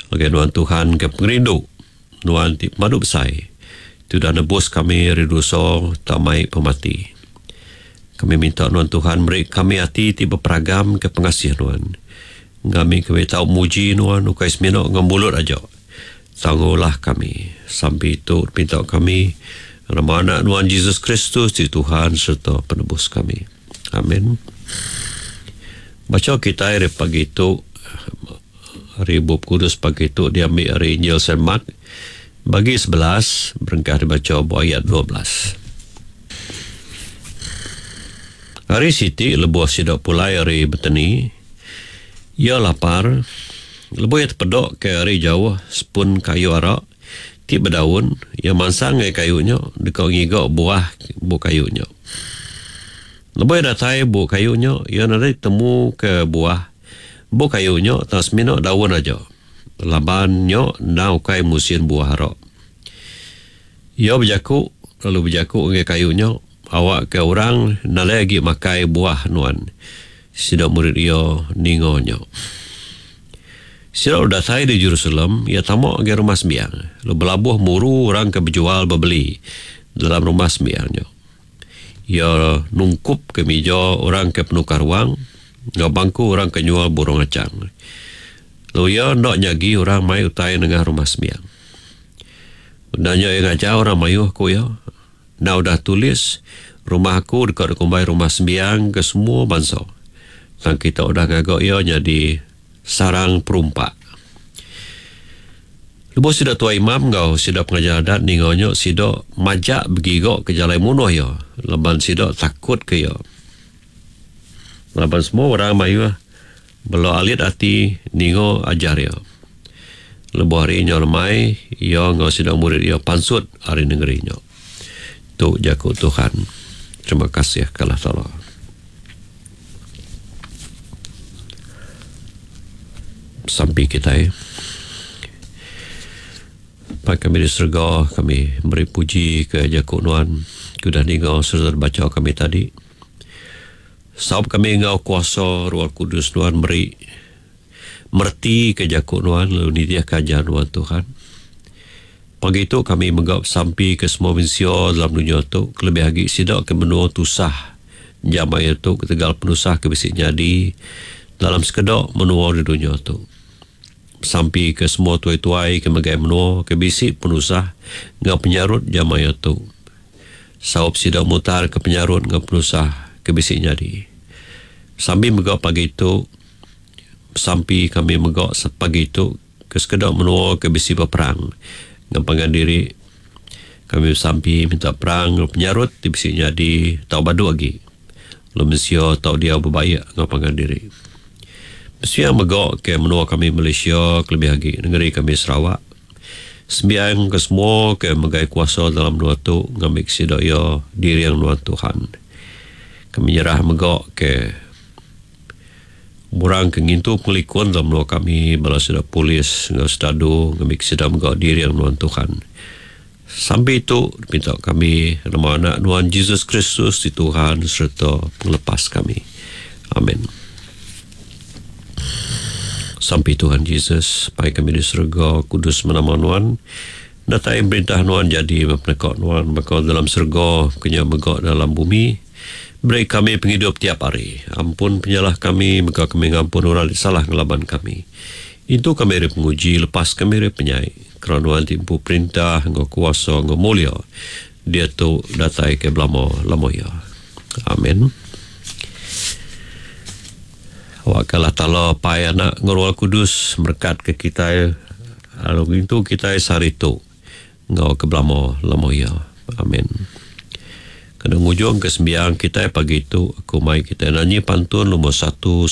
Ngagai Nuan Tuhan ke pengerindu Nuan ti pemadu besai ti udah nebus kami ari dosa tau mai pemati. Kami minta Nuan Tuhan meri kami ati ti beperagam ke pengasih Nuan. Ngambika kami tau muji Nuan ukai semina enggau mulut aja tang enggau ulah kami. Sampi tu dipinta kami nama Anak Nuan Jesus Kristus ti Tuhan sereta Penebus kami. Amen. Bacha kitai ari pagi tu ari Bup Kudus pagi tu diambi ari Injil Saint Mark bagi 11 berengkah dibacha ba ayat 12. Hari siti lebuh sida pulai ari Betani, iya lapar. Lebuh iya tepeda ke ari jauh sepun kayu ara ti bedaun, iya mansang ngagai kayu nya deka ngiga buah bu kayu nya. Lebuh iya datai bu kayu nya, iya nadai tetemu ke buah bu kayu nya tang semina daun aja, laban nya endang ukai musin buah ara. Iya bejaku lalu bejaku ngagai kayu nya, Awakka orang nadai agi makai buah nuan. Sida murid iya ninga nya. Sida udah datai di Jerusalem, iya tama ngagai Rumah Sembiang, lalu belabuh muru orang ke bejual bebeli dalam Rumah Sembiang nya. Iya nungkupka mija orang ke penukar wang enggau bangku orang ke nyual burung achang. Lalu iya enda nyagi orang mai utai nengah Rumah Sembiang. Udah nya iya ngajar orang mayuh, ku iya, Enda udah tulis, Rumah aku deka dikumbai rumah sembiang ke semua bansa. Tang kita udah ngaga iya nyadi sarang perumpak. Lebuh sida tuai imam enggau sida pengajar adat ninga nya, sida majak begiga ke jalai munuh iya, laban sida takutka iya. Laban semua orang mayuh bela alit ati ninga ajar iya. Lebuh hari nyau lemai, iya enggau sida murid iya pansut ari nengeri nya. Tu jaku Tuhan. Terima kasih ke Allah Taala. Sampi kitai. Pai kami di serega, kami meri puji ke jaku nuan ke udah ninga sereta dibacha kami tadi. Saup kami enggau kuasa Roh Kudus nuan meri Mereti ke jaku nuan lalu nitihka ajar nuan Tuhan. Pagi tu kami mega besampi ke semua mensia dalam dunya tu kelebih agi sida ke menua tusah jam maya tu ketegal penusah ke bisi nyadi dalam sekeda menua di dunya tu. Besampi ke semua tuai-tuai ke megai menua ke bisi penusah enggau penyarut jam maya tu. Saup sida mutar ke penyarut enggau penusah ke bisi nyadi. Besampi mega pagi tu. Besampi kami mega sepagi tu ke sekeda menua ke bisi beperang enggau pangan diri. Kami besampi minta perang enggau penyarut ti bisi nyadi tau badu agi lalu mensia tau diau bebaik enggau pangan diri. Besembiang mega ke menua kami Malaysia kelebih agi nengeri kami Sarawak. Sembiang ke semua ke megai kuasa dalam menua tu ngambika sida iya diring nuan Tuhan. Kami nyerah mega ke. Orang ke ngintu pengelikun dalam menua kami bala sida polis enggau sedadu ngambika sida mega diring nuan Tuhan. Sampi tu dipinta kami nama Anak nuan Jesus Kristus ti Tuhan sereta Pengelepas kami. Amen. Sampi Tuhan Jesus, Pai kami di serega, kudus meh nama nuan. Datai perintah nuan jadi meh peneka nuan baka dalam serega kenya mega dalam bumi. Beri kami pengidup tiap hari. Ampun penyalah kami, mega kami ngampun orang ti salah ngelaban kami. Intu kami ari penguji, lepas kami ari penyai. Kerana Nuan ti empu perintah enggau kuasa enggau mulia, diatu datai ke belama-lama iya. Amen. Awakka Allah Taala Apai, Anak enggau Roh Kudus merekatka kitai lalu ngintu kitai sehari tu. Enggau ke belama lama iya. Amin. Kena ngujungka sembiang kitai pagi tu, aku mai kitai nanyi pantun lumur 110.